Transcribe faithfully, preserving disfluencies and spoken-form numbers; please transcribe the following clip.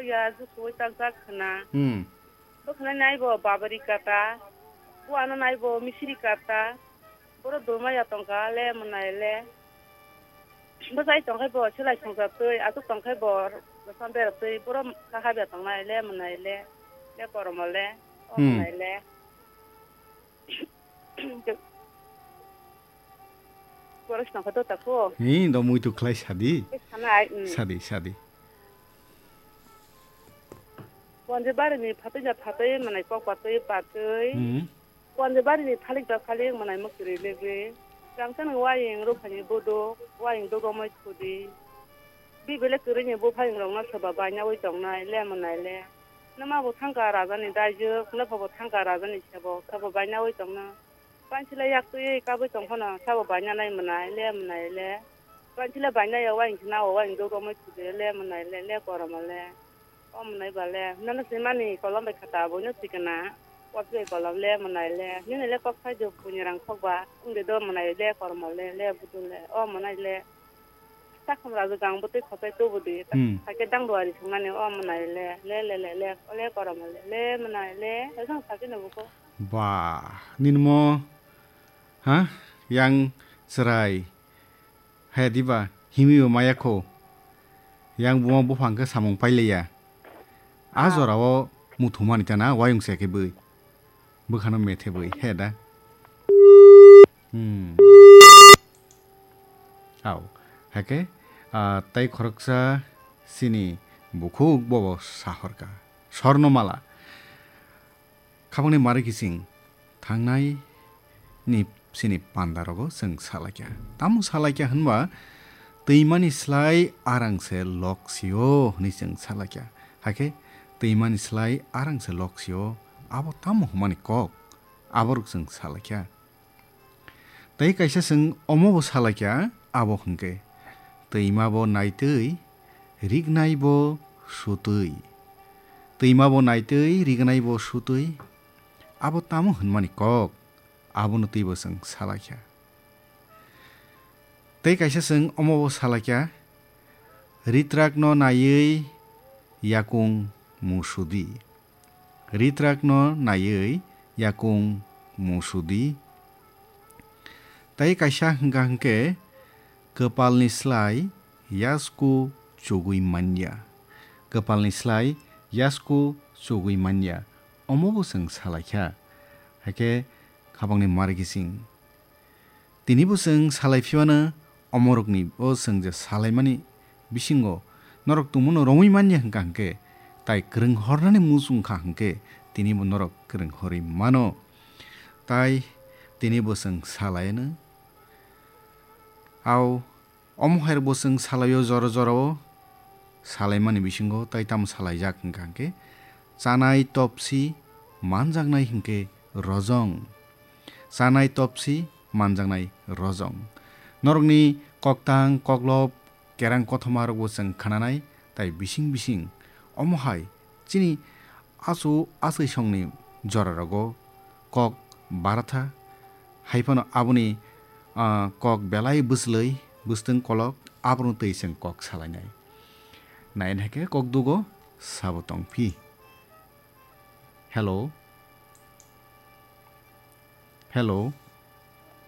Ya, jusuwi takjak khna. Hmm. Bo khna nai bo babari kata. Bo ano nai bo misiri kata. Boro dulma ya tongka le mwnai le. Bwsai tongkhai bo selai songsa twi, aswk tongkhai bo bwsa bera twi, borok kha habya tongnai le mwnai le, le koromo le, o Hmm. mwnai le. Borok songkha to tako. Hi, do muitu khlai sadi. Tei sanai, mm. Sadi, sadi. Bonje bari ni phatwi ja phatwi, mwnai kok patwi patwi. Hmm. Konde bari ni thalik da thalik mwnai mwkri legwi. Rangchak ni waying ruphani buduk, waying dugomoi thudi. Bibele kwrwi ni buphayung rokno soba bainawi tongnai le mwnai le. Nwma bo thangka raja ni daijwk, nwpha bo thangka raja ni sebok, sabo bainawi tongno. Pansila yak twi kabwi tongphano sabo bainanai mwnai le mwnai le. Pansila bainai ya waying khna o waying dugomoi thudi le mwnai le, le koromo le. O mwnai ba le, nono swimani kolom bai khata, boino swikana. Kosoi kolom le, mwnai le, nini le kok sai do, buini rang khok ba, wngde do mwnai le, kormo le, le, budul le, o mwnai le. Sakhum rajwk ang bwtwi khosai tubu di, Hmm. Sakhe dang duari swngnani, o mwnai le, le, le, le, le, o le, kormo le, le, mwnai le, le, jang sakhe no buko. Ba, nini mo, ha? Yang chwrai. Haya diba, himibo maya kho. Yang buma buphang khe samung pailaiya. A Ah. jorao muthumani tana wayung se khe bwi. Bwkhano methe bwi, he da. Hmm. Au, hake, ah, tai khoroksa sini bukhuk bobo sahorka. Sorno mala. Khabangni mari kiching thangnai ni sini panda rogo chwng salaikha. Tamo salaikha hwnba, twimani slai arang se lok sio hwnwi chwng salaikha. Hakhe twimani slai arang se lok sio, abo tamo hwnmani kok, aborok chwng salaikha. Tei kaisa chwng omo bo salaikha, abo hwnkhe, twima bo naitwi, rignai bo sutwi. Twima bo naitwi, rignai bo sutwi. Abo tamo hwnmani kok, abono twibo chwng salaikha. Tei kaisa chwng omo bo salaikha, ritrakno naiwi yakung musudi. Ritrakno naiwi yakung musudi. Tei kaisa hwnkha hwnkhe, kwpalni slai yasku chugui manya. Kwpalni slai yasku chugui manya. Omo bo chwng salaikha. Hakhe khabangni mari kiching. Tini bo chwng salai phiyano omorokni bo chwng je salaimani bisingo norok tongmano romwi manya hwnkha hwnkhe, tai kwrwng hornani muchung kha hwnkhe tini bo norok kwrwng horwi mano. Tai tini bo chwng salaiano. Au Omo hai rok bo chwng salaio jora jora o salaimani bisingo tai tamo salaijak hwnkha hwnkhe chanai topsi manjaknai hwnkhe rojong. Chanai topsi manjaknai rojong. Norokni koktang koklop kerang kothoma rok bo chwng khnanai tai bising bising omo hai chini achu achai songni jora rogo kok baratha, hai phano aboni, ah, kok belai bwslwi, bwswtwng kolok, abono twi chwng kok salainai. Naina hai khe kok dugo sabo tongphi. Hello? Hello?